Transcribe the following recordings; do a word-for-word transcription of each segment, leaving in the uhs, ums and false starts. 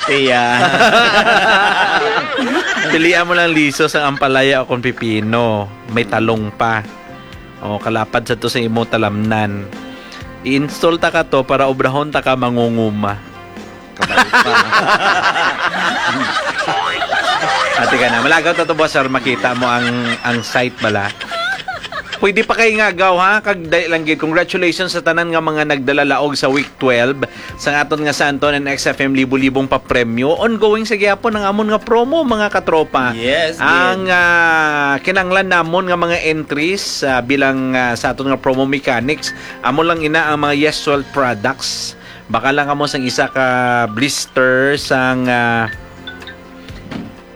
Iya. Pilian mo lang liso sa ampalaya o kung pipino. May talong pa. O, kalapad sa to sa imo talamnan. I-install ta ka to para obrahon ta ka mangunguma. Kabalo pa. Ate ka na. Malagaw ta to, boss, sir. Makita mo ang, ang site bala. Pwede pa kay nga agaw, ha? Kag dali lang gid. Congratulations sa tanan nga mga nagdala laog sa week twelve sang aton nga Santon and X F M libo-libong papremyo. Ongoing sa gyapon ang amon nga promo, mga katropa. Yes, Ang gid. ah, kinanglan namon nga mga entries ah, bilang ah, sa aton nga promo mechanics, amo lang ina ang mga Yes World products. Baka lang kamo sang isa ka blister sang ah,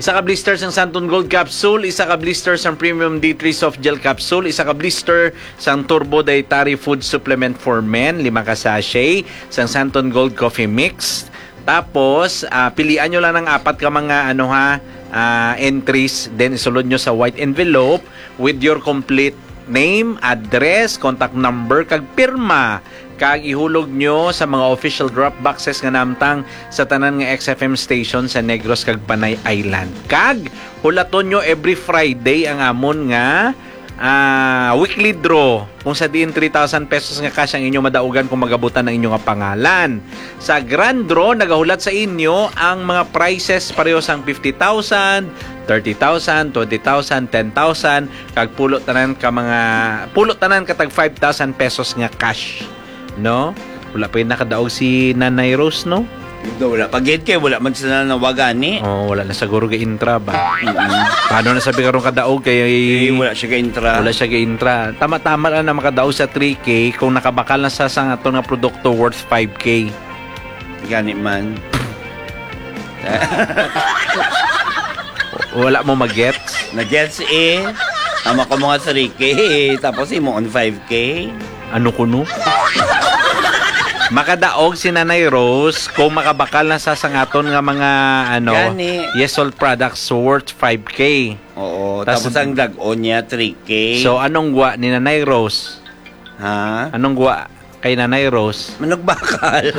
isa ka blister sang Santon Gold Capsule, isa ka blister sang Premium D three Soft Gel Capsule, isa ka blister sang Turbo Dietary Food Supplement for Men, lima ka sachet sang Santon Gold Coffee Mix. Tapos, ah, pilian nyo lang ang apat ka mga, ano ha, ah, entries, then isulod nyo sa white envelope with your complete name, address, contact number, kag pirma, kag ihulog nyo sa mga official drop boxes nga namtang sa tanan nga X F M station sa Negros kag Panay Island. Kag hulaton nyo every Friday ang amon nga ah, weekly draw, kung sa diin three thousand pesos nga cash ang inyo madaugan kung magabutan ang inyo nga pangalan. Sa grand draw, nagahulat sa inyo ang mga prizes pareho sang fifty thousand, thirty thousand, twenty thousand, ten thousand, kag pulo tanan ka mga, pulo tanan ka tag five thousand pesos nga cash, no? Wala pa yung nakadaog si Nanay Rose, no? Ito, wala pa gid kay wala man sila nawagani. Oh, wala na siguro ga-intra ba? Mm-mm. Paano na sabi karon kadaog kay Eh, wala siya ka-intra. Wala siya ga-intra. Tama-tama lang na makadaog sa three K kung nakabakal na sa sang aton nga produkto worth five K. Gani man. Wala mo magets? Na-gets eh. Tama ko mga three K, tapos imo on five K. Ano kuno? Makadaog si Nanay Rose kung makabakal na sa sangaton nga mga, ano, Gani. Yes All products worth five K. Oo, Tas tapos ang dag-on niya, three K. So, anong gwa ni Nanay Rose? Ha? Anong gwa kay Nanay Rose? Manugbakal.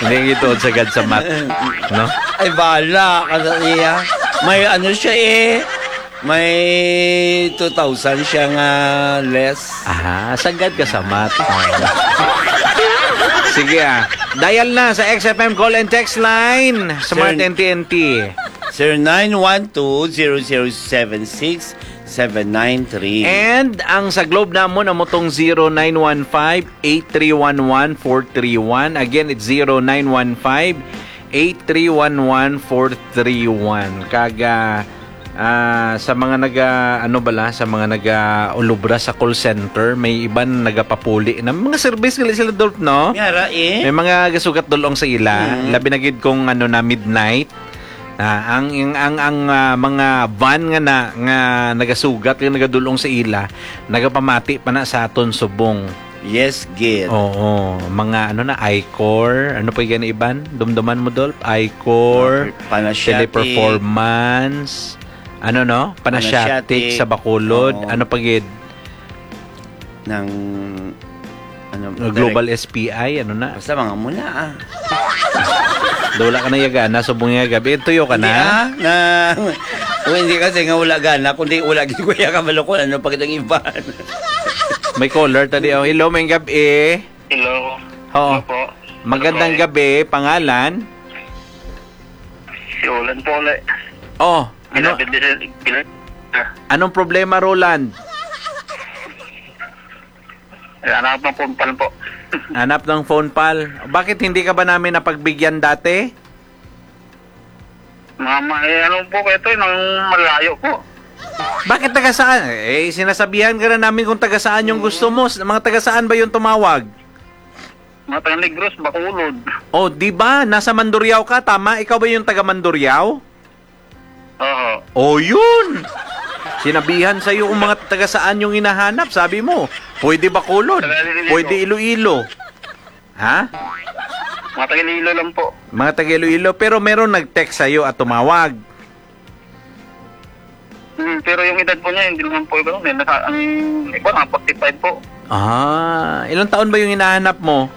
Hindi, ito sagad sa mat, no? Ay, bala ka sa iya. May ano siya eh. May two thousand siya nga less. Ah, sagad ka sa mat. Sige ah. Dial na sa X F M call and text line. Smart Sir, N T N T. Sir, nine one two, zero zero seven six, seven nine three. And ang sa Globe namon, amo tong zero nine one five, eight three one one, four three one. Again, it's zero nine one five, eight three one one, four three one. Kag, ah, ah, sa mga naga, ano bala, sa mga naga-ulubra sa call center, may iban nagapapuli na. Mga service gali sila, Dolph, no? Yara, eh. May mga gasugat dulong sa ila, Mm. labi na gid kung, ano na, midnight. Ah, ang, ang, ang, ang, ah, mga van nga na, nga nagasugat, nga nagadulong sa ila, nagapamati pa na sa aton subong. Yes, gid. Oo, mga ano na, Icor, ano pa gani iban? Dumduman mo, Dolph? Icor, Mga Panasiatic. Teleperformance, ano, no? Panasiatic Panasiatic. sa Bacolod, Oo. ano pa gid? Ng, ano, Uh, Global direct. S P I, ano na? Basta mga muna, ah. Daw wala ka na yagana, subong nga gabi. Tuyo ka Hindi, na? ah, na, o, hindi kasi nga wala gana, kundi wala gid ko ya kabalo kung ano pa kitang iban. May caller tadi, oh. Hello, may gabi. Hello. Oo. Hello po. Magandang Hello po. gabi, pangalan? Si Olan po ulit. Oh, ano? Ginabit din sa, gina-, ah. Anong problema, Roland? Hanap ng phone pal po. Hanap ng phone pal. Bakit hindi ka ba namin napagbigyan dati? Mga ma-, eh, ano po kayo to, eh, nang malayo po. Bakit taga saan? Eh, sinasabihan ka na namin kung taga saan yung gusto mo. S-, mga taga saan ba yung tumawag? Mga taga Negros, Bacolod. Oh, di ba? Nasa Mandurriao ka, tama? Ikaw ba yung taga Mandurriao? Oo. Oh, yun! Sinabihan sa'yo kung mga taga saan yung hinahanap. Sabi mo, pwede Bacolod, Taga Iloilo. pwede Iloilo. Ha? Mga taga Iloilo lang po. Mga taga Iloilo, pero meron nag-text sa'yo at tumawag. Hmm, pero yung edad po niya, hindi naman po iba. May nasa, ang iba, mga forty-five po. Ah, ilang taon ba yung hinahanap mo?